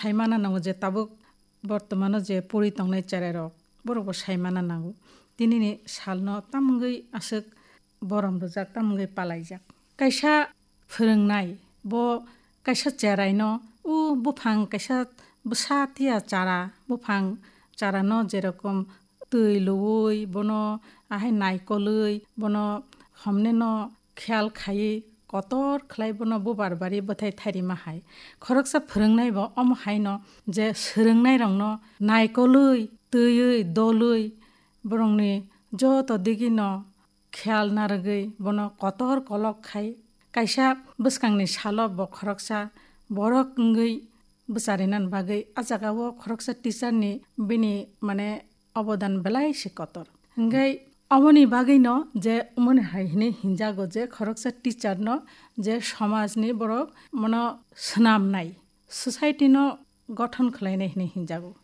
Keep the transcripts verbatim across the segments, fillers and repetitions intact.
Saimana nango je tabuk bortomano je pori tongnai cherai rok, borok bo saimana nango. Tinini salno tamungwi aswk borom rwjak, tamungwi palaijak. Kaisa phwrwngnai, bo kaisa cheraino, o buphang kaisa bwsa tiya chara, buphang charano jerokom twi luwi, bono ahai naikolwi, bono homneno kheyal khaiwi kotor khlai bono bubar bari bwthai thairima hai. Khoroksa phwrwngnai bo omo haino je swrwngnairokno naikolwi, twiwi, dolwi, borokni joto digino kheyal narwgwi bono kotor kolok khai. Kaisa bwskangni salo bo khoroksa borok wngwi bwcharinani bagwi a jagao khoroksa teacher ni bini, mane, obodan belai se kotor. Hingkhe aboni bagwino je umoni hai hinwi hinjago je khoroksa teacher no je somajni borok mono swnamnai, society no gothon khlainai hinwi hinjago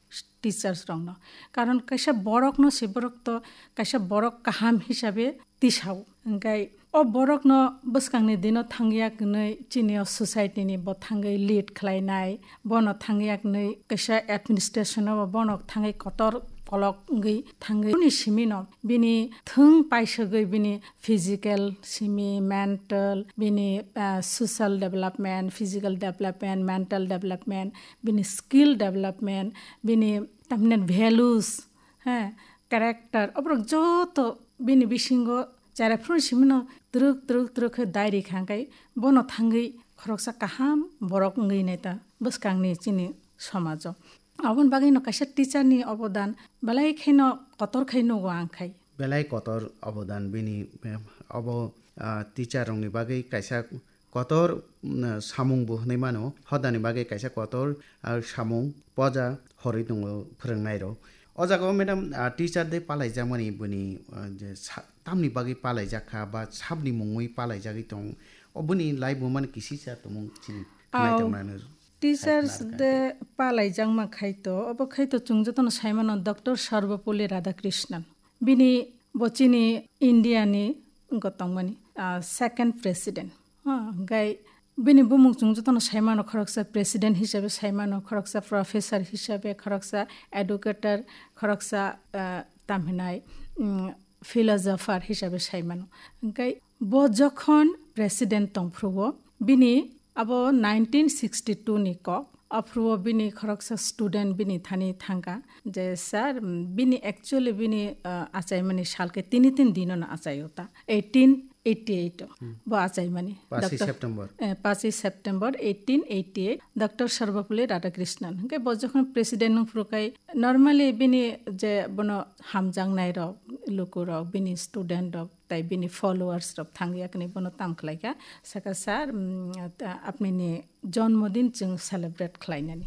teachers rokno. Karon kaisa borokno se borok to kaisa borok kaham hisabe tisao. Hingkhe o borokno bwskangni dino thangya hwnwi chini o society ni bo thangwi lead khlainai, bono thangya hwnwi kaisa administration o bono thangwi kotor kolok wngwi thangwi. Bini simino bini thwng paisagwi bini physical simi, mental, bini, ah, social development, physical development, mental development, bini skill development, bini tamni values, he, character, oborok joto bini bisingo cheraphuru simino twrwk twrwk twrwk khe dairi kha, hingkhe bono thangwi khoroksa kaham borok wngwi nai ta bwskangni chini somajo. Aboni bagwino kaisa teacher ni obodan belai kheno kotor khai nugo ang khai. Belai kotor obodan bini, eh, obo, ah, teacher rokni bagwi kaisa kotor, mm, samung bo hwnwi mano. Hodani bagwi kaisa kotor, ah, samung poja horwi tongo phwrwngnairok. O jagao, madam, ah, teacher day palaijakmani bini, ah, je sa-, tamni bagwi palaijak kha ba sabni mungwi palaijagwi tong, o bini laibuma ni kisisa tongmung chini Aw, naitok nani teachers khaikhe. Day palaijakma khaito, obo khaito chwng jotono saimano Doctor Sarvepalli Radhakrishnan. Bini bo chini India ni wngkha tongmani, ah, second president. Ha, hingkhai bini bumung chwng jotono saimano, khoroksa president hisabe saimano, khoroksa professor hisabe, khoroksa educator, khoroksa, ah, tamhinai, mm, philosopher hisabe saimano. Hingkhai bo jokhon president tongphruo, bini abo nineteen sixty-two ni kok, aphruo bini khoroksa student bini thani thangkha je, "Sir, mm, bini actually bini, ah, achaimani salke tini tin dino no achaio ta, eighteen eighty-eight o." Hmm. Bo achaimani. Pachi Doctor September. Eh, pachi September eighteen eighty-eight, Doctor Sarvepalli Radhakrishnan. Hingke bo jokhon president nung phuru kai, normally bini je bono hamjaknai rok, luku rok, bini student rok, tai bini followers rok thangya kani bono tam khlaikha, saka, "Sir, mm, ta-, apni ni jonmodin chwng celebrate khlainani."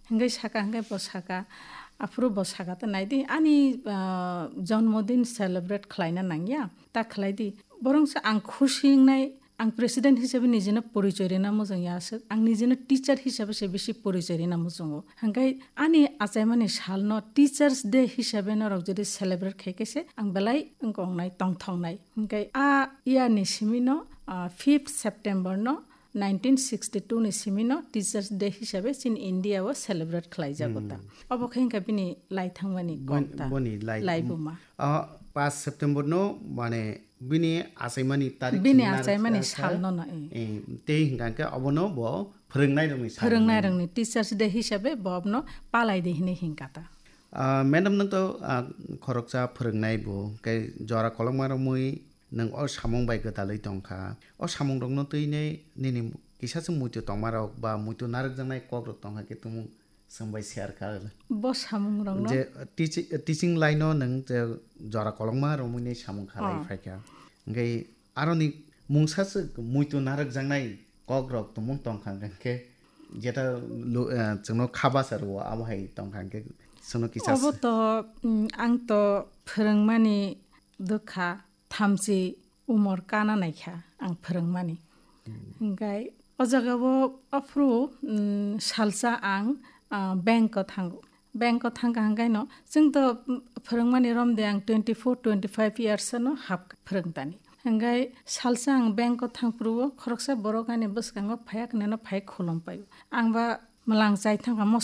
Hingke saka, hingke bo saka, aphuru bo saka, "Ta naidi, ani, ah, jonmodin celebrate khlaina nangya, ta khlaidi." Borongsa ang khusi wngnai, ang president hisabe nijino porichoi rina mujung ya aswk, ang nijino teacher hisabe se bisi porichoi rina mujungo. Hingke ani achaimani salno Teachers Day hisabe norok jodi celebrate khaikhe se ang belai wngkoknai, tongthoknai. Hingke a year ni simino, ah, fifth September no nineteen sixty-two ni simino Teachers Day hisabe chini India o celebrate khlaijago ta. Hmm. Obo khe hingkha bini lai thangmani Bon-, kok ta. Boni lai, laibuma. Ah, paanch September no, mane, bini achaimani tarik Bini sini narwk achaimani sal sal no no, eh. Eh, tei hingkha khe obono bo phwrwngnairokni sal Phwrwngnairokni hwnwi. Teachers Day hisabe bo abono palai di hinwi hingkha ta. Ah, madam, nwng to, ah, khoroksa phwrwngnai bo, khe jora kolokma romwi nwng o samung bai gwdalwi tongkha. O samungrokno twinai nini kisa se muitu tongmarok ba muitu narwkjaknai kokrok tongkha khe tumung Chwng bai share kha. Bo samung rok no? Je teaching, teaching line o nwng je jora kolokma romwi ni samung khalai Oh. phai kha. Hingke aroni mungsa se muitu narwk jaknai kok rok tumung tong kha hingke jeta lu-, eh, chwngno kha basa rwo abo hai tong kha hingke chwngno kisa Obo se. To, mm, ang to phwrwngmani dukha thamchi umor kana naikha ang phwrwngmani. Hmm. Hingkai o jagao aphuru, mm, salsa ang, ah, bank o thango. Bank o thangkha hingkaino chwng to, mm, phwrwngmani romde ang twenty four, twenty five years no hap phwrwngtani. Hingkai salsa ang bank o thangphuru o khoroksa borok ani bwskango phaiya khneno phai khulum paio. Ang ba Mwlang chai thangkha mos